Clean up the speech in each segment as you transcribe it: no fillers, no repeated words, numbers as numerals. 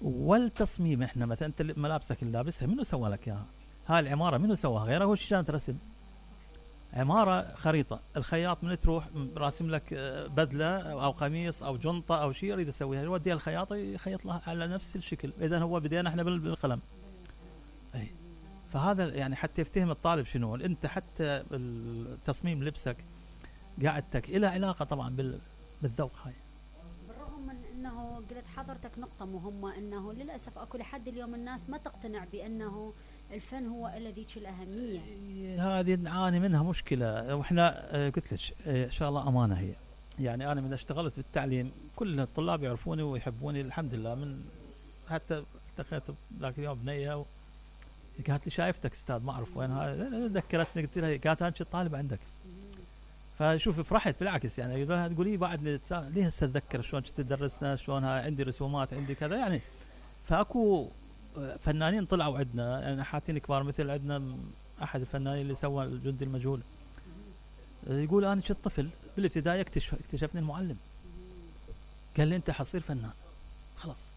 والتصميم. احنا مثلا انت ملابسك اللي لابسها منو سوى لك اياها؟ هاي العماره منو سواها غيره؟ هو شلون ترسم عماره خريطه، الخياط من تروح راسم لك بدله او قميص او جنطه او شيء يريد يسويها، يوديها الخياط يخيط لها على نفس الشكل. اذا هو بدينا احنا بالقلم. اي فهذا يعني حتى يفتهم الطالب شنو انت، حتى التصميم لبسك قاعدتك إلى علاقه طبعا بالذوق. هاي بالرغم من انه قلت حضرتك نقطة مهمة، انه للأسف اكو لحد اليوم الناس ما تقتنع بانه الفن هو الذي الأهمية. هذه نعاني منها مشكلة. واحنا قلت لك ان شاء الله امانة هي. يعني انا من اشتغلت بالتعليم كل الطلاب يعرفوني ويحبوني الحمد لله. من حتى التقيت ذاك اليوم بنية قالت لي شايفتك استاذ ما اعرف وينها، ذكرتني قلت لها قالت انت طالب عندك. فشوف فرحت بالعكس يعني تقول لي بعد ليه هسه اتذكر شلون كنت تدرسنا، شلون عندي رسومات عندي كذا يعني. فاكو فنانين طلعوا عندنا يعني نحاتين كبار، مثل عندنا احد الفنانين اللي سوى الجندي المجهول يقول انا كنت طفل بالابتدائي اكتشفني المعلم قال لي انت حصير فنان خلاص.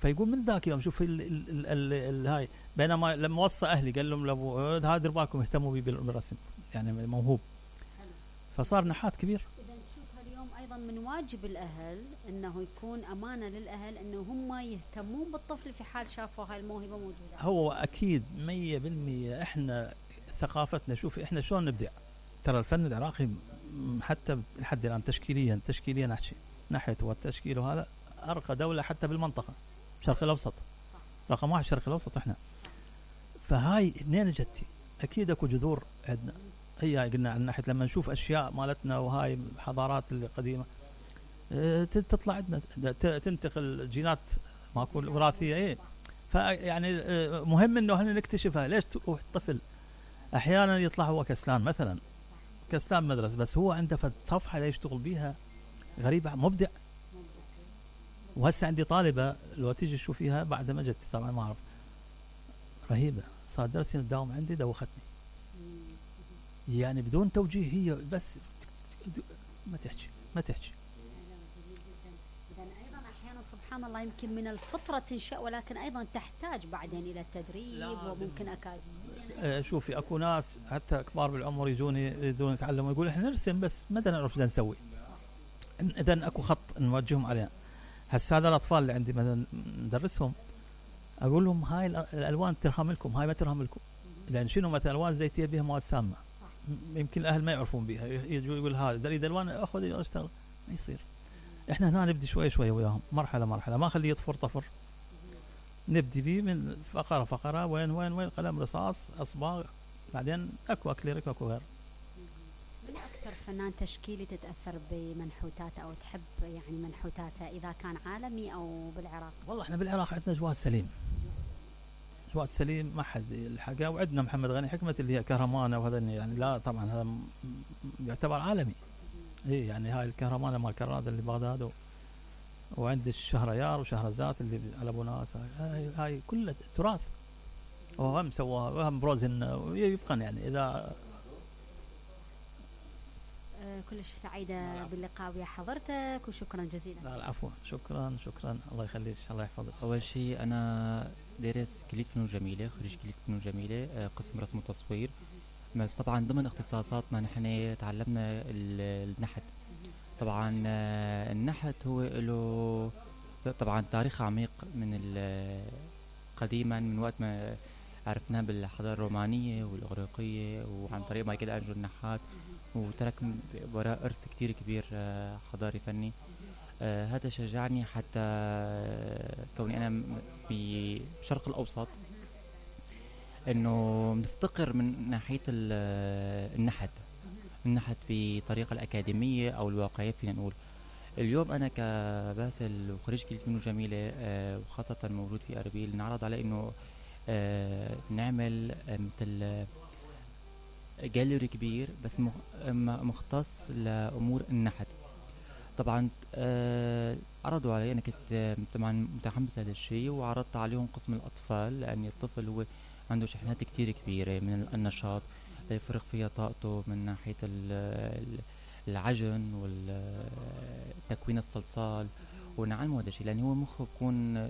فيقول من ذاك يوم شوف هاي. بينما لما وصى اهلي قال لهم لابو هذا دير بالكم اهتموا بي بالرسم يعني موهوب، فصار نحات كبير. إذا نشوفها اليوم أيضا من واجب الأهل أنه يكون أمانة للأهل أنه هم يهتمون بالطفل في حال شافوا هاي الموهبة موجودة. هو أكيد 100%. إحنا ثقافتنا شوف إحنا شلون نبدع. ترى الفن العراقي حتى لحد الآن تشكيليا نحكي ناحية والتشكيل وهذا أرقى دولة حتى بالمنطقة الشرق الأوسط. رقم 1 الشرق الأوسط إحنا. فهاي منين جتي؟ أكيد أكو جذور عندنا. هي قلنا عن ناحية لما نشوف أشياء مالتنا وهاي حضارات القديمة تطلع عندنا تنتقل جينات ماكو وراثية. إيه فيعني مهم إنه احنا نكتشفها. ليش الطفل أحيانا يطلع هو كسلان مثلا كسلان مدرسة بس هو عنده صفحة يشتغل بيها غريبة مبدع. وهسه عندي طالبة لو تيجي تشوفيها بعد ما جت طبعا ما أعرف رهيبة صار درسي الدوام عندي دوختني يعني بدون توجيه هي بس ما تحكي. إذا أيضا أحيانا سبحان الله يمكن من الفطرة تنشأ ولكن أيضا تحتاج بعدين إلى التدريب وممكن أكاديمية. شوفي أكو ناس حتى كبار بالعمر يجوني يريدون يتعلموا يقول إحنا نرسم بس ما نعرف شو نسوي. إذا أكو خط نوجههم عليه. هسه هذا الأطفال اللي عندي مثلا ندرسهم أقول لهم هاي الألوان ترهم لكم هاي ما ترهم لكم لأن شنو مثلا ألوان زيتية بها مواد سامة يمكن الأهل ما يعرفون بها يقول هذا يريد ألوان أخذ أشتغل ما يصير. إحنا هنا نبدي شوي وياهم مرحلة ما خليه يطفر طفر. نبدي بيه من فقرة وين قلم رصاص أصباغ بعدين أكو أكليريك وأكو غير. من أكثر فنان تشكيلي تتأثر بمنحوتاته أو تحب يعني منحوتاته إذا كان عالمي أو بالعراق؟ والله إحنا بالعراق عندنا جواد سليم ما حد الحقا. وعندنا محمد غني حكمة اللي هي كهرمانة وهذا يعني لا طبعا هذا يعتبر عالمي. إيه يعني هاي الكهرمانة مال كراد اللي بغداد وعند الشهريار وشهرزات اللي على ابو ناس هاي كلها تراث. وهم سواها وهم بروزن يبقى يعني اذا كلش سعيدة باللقاء ويا حضرتك وشكرا جزيلا. لا العفو شكرا الله يخليك الله يحفظك. اول شيء انا دارس كلية فنون جميلة خريج كلية فنون جميلة قسم رسم وتصوير. بس طبعا ضمن اختصاصاتنا نحن تعلمنا النحت. طبعا النحت هو له طبعا تاريخ عميق من قديما من وقت ما عرفناه بالحضارة الرومانية والإغريقية وعن طريق مايكل أنجلو النحات وترك وراء إرث كتير كبير حضاري فني. هذا شجعني حتى كوني أنا في الشرق الأوسط إنه نفتقر من ناحية النحت بطريقة الأكاديمية أو الواقعية فينا نقول. اليوم أنا كباسل وخريج كلية فنون جميلة وخاصة موجود في أربيل نعرض على إنه نعمل مثل جاليري كبير بس مختص لأمور النحت. طبعا عرضوا علي أنا كنت طبعا متحمس لهذا الشيء وعرضت عليهم قسم الأطفال لأن الطفل هو عنده شحنات كتير كبيرة من النشاط يفرغ فيها طاقته من ناحية العجن والتكوين الصلصال ونعلمه هذا الشيء لأن هو مخه بيكون